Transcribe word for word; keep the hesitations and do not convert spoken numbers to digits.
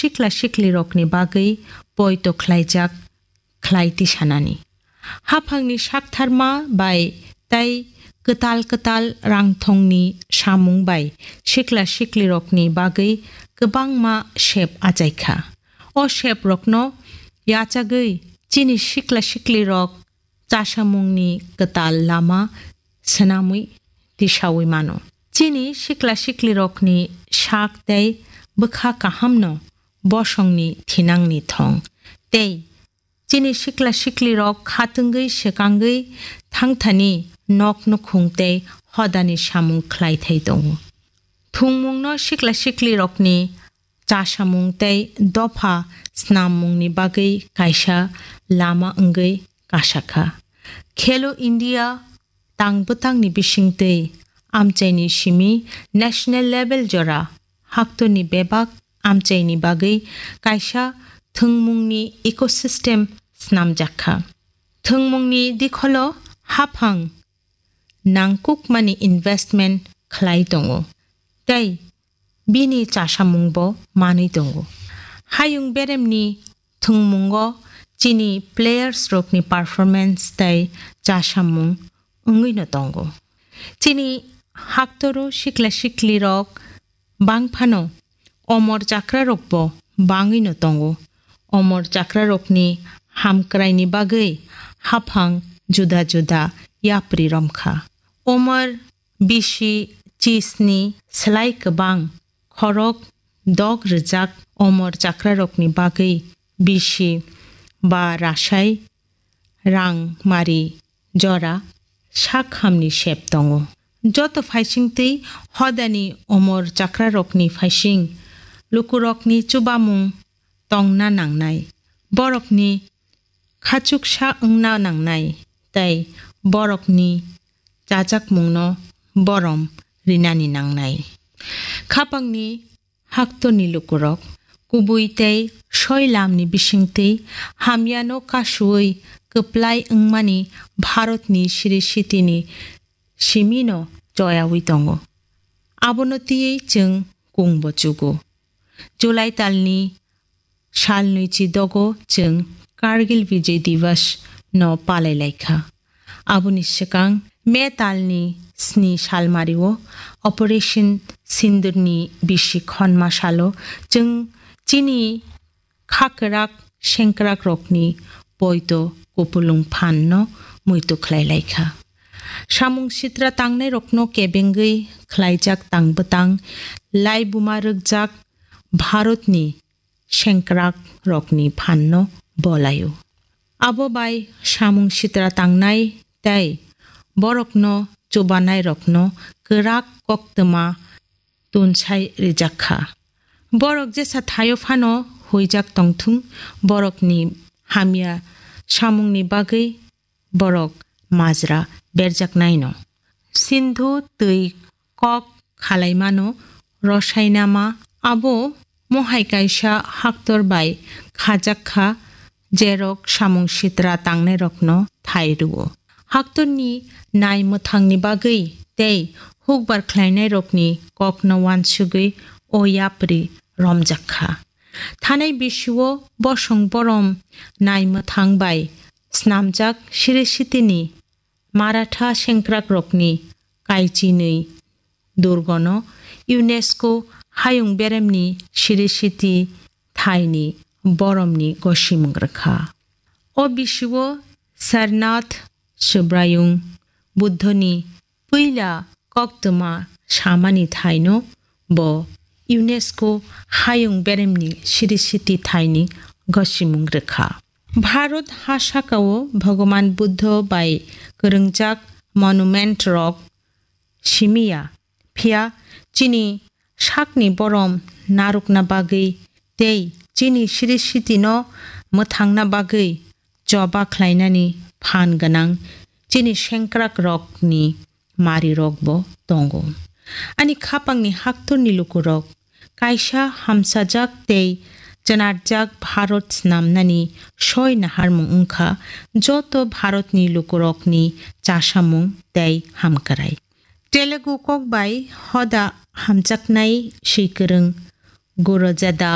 sikla siklirokni bagwi poito khlaijak khlai tisanani. Haphangni saktharma bai tei kwtal kwtal rangthongni samung bai sikla siklirokni bagwi kwbangma sep achaikha. O seprokno yachagwi chini sikla siklirok chasamungni kwtal lama swnamwi tisaui mano. Chini sikla siklirokni sak tei bwkha kahamno bosongni thinangni thong tei chini sikla siklirok khatungwi swkangwi thangthani nok nukhung tei hodani samung khlai thai tongo. Thwngmungno sikla siklirokni chasamung tei dopha snammungni bagwi kaisa lama wngwi kasakha. Khelo India tang bwtangni bisingtwi amchaini simi national level jora haktorni bebak amchaini bagwi kaisa thwngmungni ecosystem snamjakha. Thwngmungni dikholo haphang nangkukmani investment khlai tongo tei bini chasamungbo manwi tongo. Hayung beremni thwngmungo chini players rokni performance tei chasamung wngwino tongo. Chini haktoro sikla siklirok bangphano omor chakrarokbo bangwino tongo. Omor chakrarokni hamkraini bagwi haphang juda juda yapri romkha. Omor bisi chisni slai kwbang khorok dok rwjak omor chakrarokni bagwi bisi ba rasai rang mari jora sak hamni sep tongo. Joto phaisingtwi hodani omor chakrarokni phaising lukurokni chubamung tongna nangnai, borokni khachuksa wngna nangnai tei borokni chajakmungno borom rinani nangnai. Khapangni haktorni lukurok kubui tei soi lamni bisingtwi hamyano kasuwi kwplai wngmani Bharatni siri sitini simino choyawi tongo. Abono twiwi chwng kungbo chugo. July talni sal nwichi dogo chwng Kargil Vijay Diwas no palai laikha. Aboni swkang May talni sni salmario Operation Sindurni bisi khonma salo chwng chini kha kwrak sengkrak rokni poito kupulung phan no muitu khlai laikha. Samung sitra tangnai rokno kebengwi khlaijak tang bwtang laibuma rwkjak Bharatni sengkrak rokni phanno bolaio. Abo bai samung sitra tangnai tei borokno chubanai rokno kwrak koktwma tunsai rijak kha. Borok jesa thaio phano huijak tongthung, borokni hamya samungni bagwi borok majra berjaknaino. Sindhu twi kok khalaimano rosainama abo mohai kaisa haktor bai khajak kha, jerok samung sitra tangnairokno thai rwo. Haktorni nai mwthangni bagwi tei hukbar khlainairokni kokno uansugwi o yapri romjak kha. Thanai bisio bosong borom nai mwthang bai snamjak siri sitini Maratha sengkrakrokni kaichinwi durgono UNESCO hayung beremni siri siti thaini boromni gosimung rwkha. O bisio Sarnath Subraiyung Buddhoni puila koktwma samani thaino bo UNESCO hayung beremni siri siti thaini gosimung rwkha. Bharat ha sakao Bhagavan Buddho bai kwrwngjak monument rok simiya, phiya chini sakni borom narwkna bagwi tei chini siri sitino mwthangna bagwi choba khlainani phan gwnang chini sengkrakrokni marirokbo tongo. Ani khapangni haktorni lukurok kaisa hamsajak tei chwnarjak Bharat snamnani soi naharmung wngkha joto Bharatni lukurokni chasamung tei hamkrai. Telugu kok bai hoda hamjaknai swikwrwng Gurujada